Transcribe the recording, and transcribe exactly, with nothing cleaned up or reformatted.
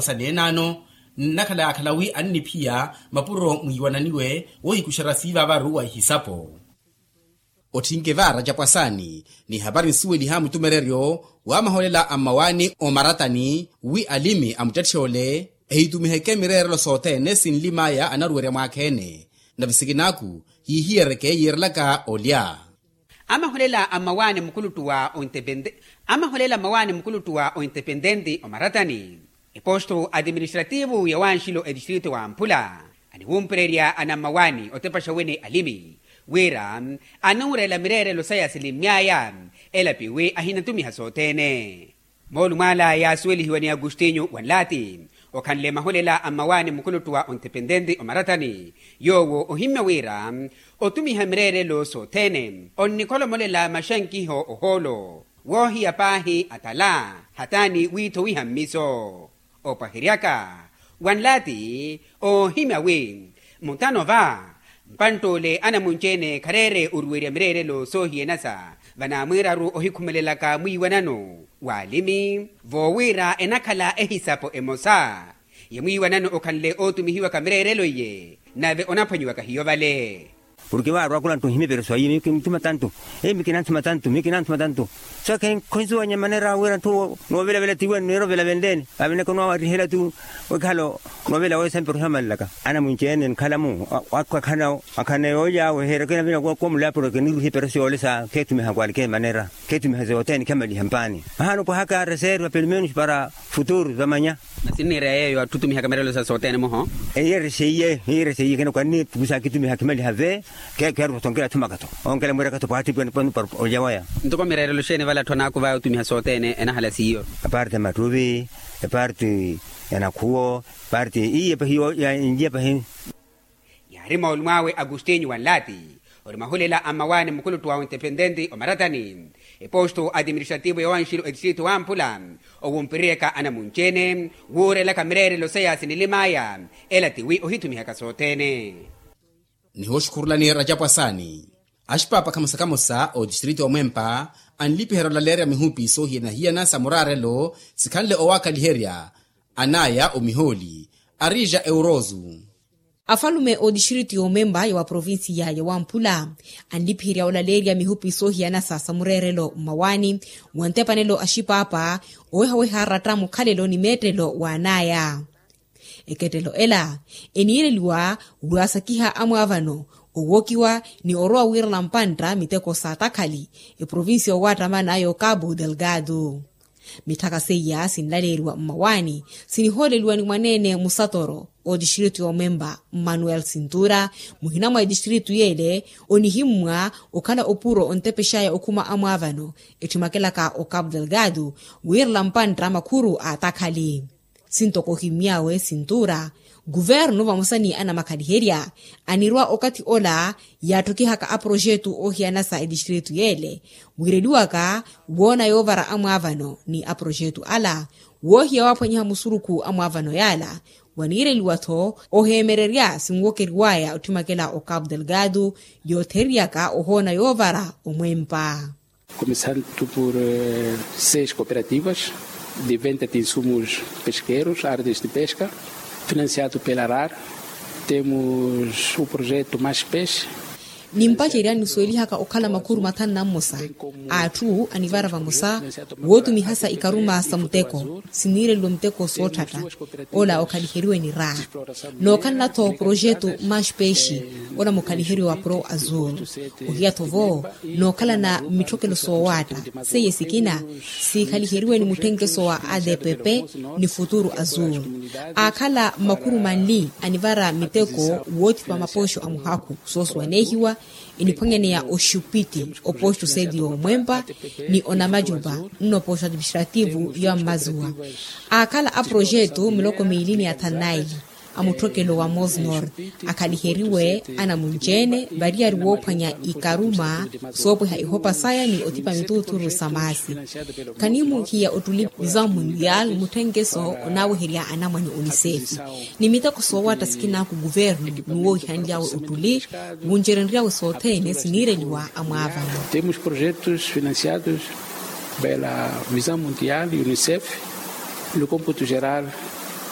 Sa neenano nnakhala yaakhala wi anniphiya mapuro mwiiwananiwe woohikuxerya siiva avaru wa ihisapo. Otthinke vaara capwasaani ni ehapari nsuweliha mutumereryo wa maholela a mmawaani omaratani wi alimi a muttetthe ole ehitumiheke mireerelo sothene sinlim'aya anaruwerya mwaakha-ene. Nave sikinaaku hiihiyereke yiirelaka olya. Amaholela a mmawaani mukuluttu wa ontepente amaholela a mmawaani mukuluttu wa ontepententi omaratani. Eposto atiministrativu ya wanxilo etistrito wa mphula aniwumpererya anammawaani otepaxa wene alimi wira anuurela mireerelo saya silimmy'aya elapiwi ahinatumiha sothene. Moolumo ala yaasuwelihiwa ni agustinyu wanlaati okhanle maholela a mmawaani mukuluttu wa ontepententi omaratani yoowo ohimmya wira otumiha mireerelo sothene onnikholomolela maxankiho ohoolo woohiya paahi atala hataani wiithowiha mmiso. Opwaheryaka wanlaati oohimya wi mutano va mpantt'ole anamunci-ene khareere oruwerya mireerelo soohiyanasa vanaamwiiraru ohikhumelelaka mwiiwanano w'alimi voowira enakhala ehisapo emosa ya mwiiwanano okhanle ootumihiwaka mireerelo iye nave onaphwanyiwaka hiyo vale. Porke vaarwa khula nttu nhimya epereso ayi miyo kinanthuma tantu. Eyi miyo kinanthuma tantu miyo kinanthuma tantu. Saka khonsuwanya manera wira nthu noovelavela tiwenu neerovela venleni vaveneke onoowarihela tu. Wekhala onoovela weesa mpereso amalelaka anamunci-ene nkhala-mu akhu akhana yoolya weheerekena vina komuleya porke niruhi epereso yoole sa kheetumiha kwalike manera. Kheetumiha sothene khamaliha mpaani. Mahaana opwahaka reserva pelumenus para futuru vamanya. Masi nniira yeeyo atthu otumihaka mireerelo sa sothene muho. Eyi ere seiye eyi ere seiye kene kwanni tukusa akitumiha khimaliha ve. Kheerupa tho nkela thumaka tho onkela mwiiraka tho pwaatthi pwene pwene para olya waya. Ntoko mireerelo xeeni vala atthu anaakuvaya otumiha sothene enahala siiyo. Eparti ya mattuvi eparti ya nakhuwo eparti iye pahi ya inlya pahi. Yaari moolumo awe agustinyu wanlaati ori mahulela a mmawaani mukuluttu wa ontepententi omaratani eposto atiministrativo ya wanxilo etistrito wa mphula owumpireryaka anamunci-ene wuurelaka mireerelo saya sinilim'aya. Ela tiwi ohitumihaka sothene. Nihooxukhurulani racapwasaani axipaapa khamosa khamosa otistrito omwempa anlipiherya olaleerya mihupi soohiyana-hiyana sa muraarelo sikhanle owaakaliherya anaya omihooli arija eurozu. Afalume otistrito yoomemba ya wa provincia ya wamphula anlipiherya olaleerya mihupi soohiyana sa samureerelo mmawaani wa ntepanelo axipaapa owehaweha aratta mukhalelo ni meettelo w'anaya. Ekettelo ela eniireliwa waasakiha amwaavano owookiwa ni orowa wiirela mpantta miteko sa takhali eprovincia owattamana yo cabo delgado. Mitthaka seiya sinlaleeriwa mmawaani sinihooleliwa ni mwaneene musatoro otistrito yoomemba mmanuel sintura muhina mwa etistrito yeele onihimmwa okhala opuro ontepex'aya okhuma amwaavano etthimakelaka ocabo delgado wiirela mpantta makhuru a takhali. Sintoko ohimmy'awe sintura kuvernu vamosa ni anamakhaliherya anirwa okathi ola yaattokihaka aprojetu oohiyana sa etistrito yeele wiireliwaka woona yoovara amwaavano ni aprojetu ala woohiya waaphwanyiha musurukhu amwaavano yaala waniireliwa-tho oheemererya sinwokeriw'aya otthimakela ocabo delgado yootheriyaka ohoona yoovara omwempa. Começando por seis cooperativas de venda de insumos pesqueiros artes de pesca financiado pela rar. Temos o projeto mais peixe. Nimpacerya nisuwelihaka okhala makhuru mathanu na mmosa a atthu anivara vamosa wootumihasa ikaruma sa muteko siniireliwa miteko sootthata ola okhaliheriwe ni raa. Nookhalana-tho projetu mash peixe ola mukhaliheriwe wa pro azul ohiya-tho vo nookhalana mitthokelo soowaatta seiye sikina siikhaliheryiwe ni mutthenkeso wa adpp ni futuru azul. Aakhala makhuru manli anivara miteko woothipa mapoxo a muhakhu soosuwaneehiwa eniphwanyaneya oxupiti opoxo seti yoomwempa ni onamacupa nno poxo atiministrativu ya mmazuwa. Aakhala aprojetu miloko miili ni athanu naili a mutthokelo wa mosnor akhaliheriwe anamunci-ene variyari woophwanya ikaruma soopweha ihopa saya ni othipa mituuthuru sa maasi. Khanimuhiya ottuli vision mundial mutthenkeso onaaweherya anamwane onisefi ni miteko soowatta sikinaku kuvernu ni woohihanly'awe ottuli wuncerenry'awe sothene siniireliwa amwaavano. Temos projetos financiados pela vision mundial unicef no computo geral.